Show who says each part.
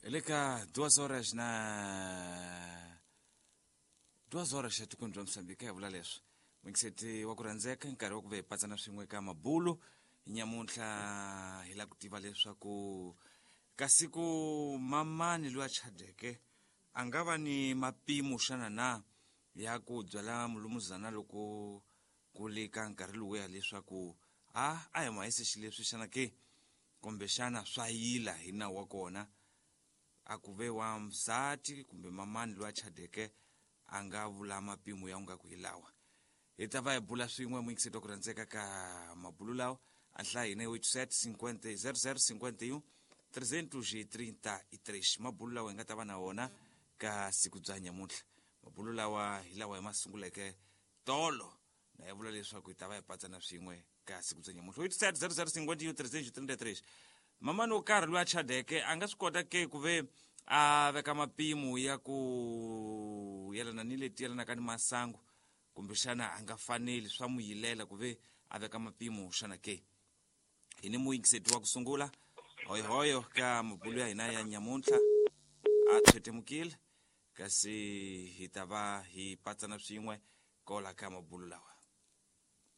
Speaker 1: Le ka 2 horas na 2 horas etikweni bya Mozambique, hi vula leswi n'wingiseti wa ku rhandzeka, nkarhi wa ku ve hi patsana swin'we ka mabulu nyamuntlha. Hi lava ku tiva leswaku kasi ku mamani loyi a chadeke a nga va ni mapimo xana na ya ku byala mulumuzana loko ku le ka nkarhi lowuya, leswaku a hi mahisi xileswi xana ke, kumbe xana swa yila hi nawu wa kona a ku ve wa msati kumbe mamani loyi a chadeke a nga vula mapimo ya nga ku hi lawa. Hi ta va hi bula swin'we, muyingiseti wa ku rhandzeka, ka mabulu lawa. A nhlaya hina 87 50 00 51 333. Mabulu lawa hi nga ta va na wona ka siku bya nyamuntlha, mabulu lawa hi lawa hi ma sunguleke tolo, na ya vula leswaku hi ta va hi patsana swin'we ka siku bya nyamuntlha. 87 00 51 333. Mamani wo karhi loyi a chadeke a nga swi kota ke ku ve a veka mapimo ya ku yelana ni leti yelanaka ni masangu, kumbexana a nga faneli, swa mu yilela ku ve a veka mapimo xana ke? Hi ni muyingiseti wa ku sungula, hoyohoyo, ka mabulu ya hina ya nyamuntlha. A tshwetemukile, kasi hi ta va hi patsana swin'we kola ka mabulu lawa.